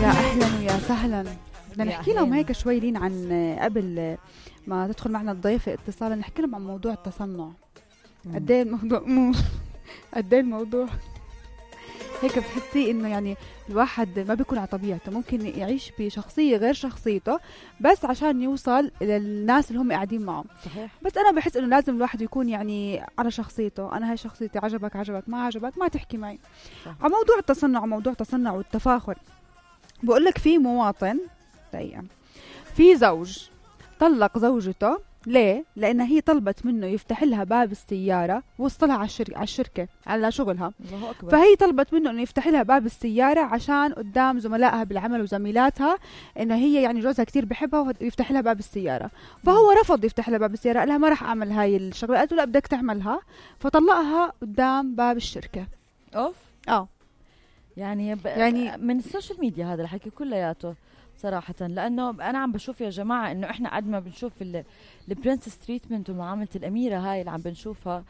يا أهلا ويا سهلا. بدنا نحكي لهم أهلين. هيك شوي لين عن قبل ما تدخل معنا الضيفة اتصالا، نحكي لهم عن موضوع التصنع. قد ايه الموضوع قد ايه الموضوع هيك بتحسي انه يعني الواحد ما بيكون على طبيعته، ممكن يعيش بشخصية غير شخصيته بس عشان يوصل للناس اللي هم قاعدين معه. صحيح. بس انا بحس انه لازم الواحد يكون يعني على شخصيته. انا هاي شخصيتي، عجبك ما عجبك ما تحكي معي. صح. على موضوع التصنع وموضوع التصنع والتفاخر، بقول لك في مواطن دقيقة، في زوج طلق زوجته. ليه؟ لأن هي طلبت منه يفتح لها باب السيارة، وصلها على الشركة على شغلها. الله أكبر. فهي طلبت منه انه يفتح لها باب السيارة عشان قدام زملائها بالعمل وزميلاتها انه هي يعني جوزها كتير بحبها ويفتح لها باب السيارة. فهو رفض يفتح لها باب السيارة، قال لها ما راح اعمل هاي الشغلة. قالت له لا بدك تعملها، فطلقها قدام باب الشركة. اوف. يعني يعني من السوشيال ميديا هذا الحكي كلياته صراحة، لأنه أنا عم بشوف يا جماعة إنه إحنا قد ما بنشوف البرنسس تريتمنت ومعاملة الأميرة هاي اللي عم بنشوفها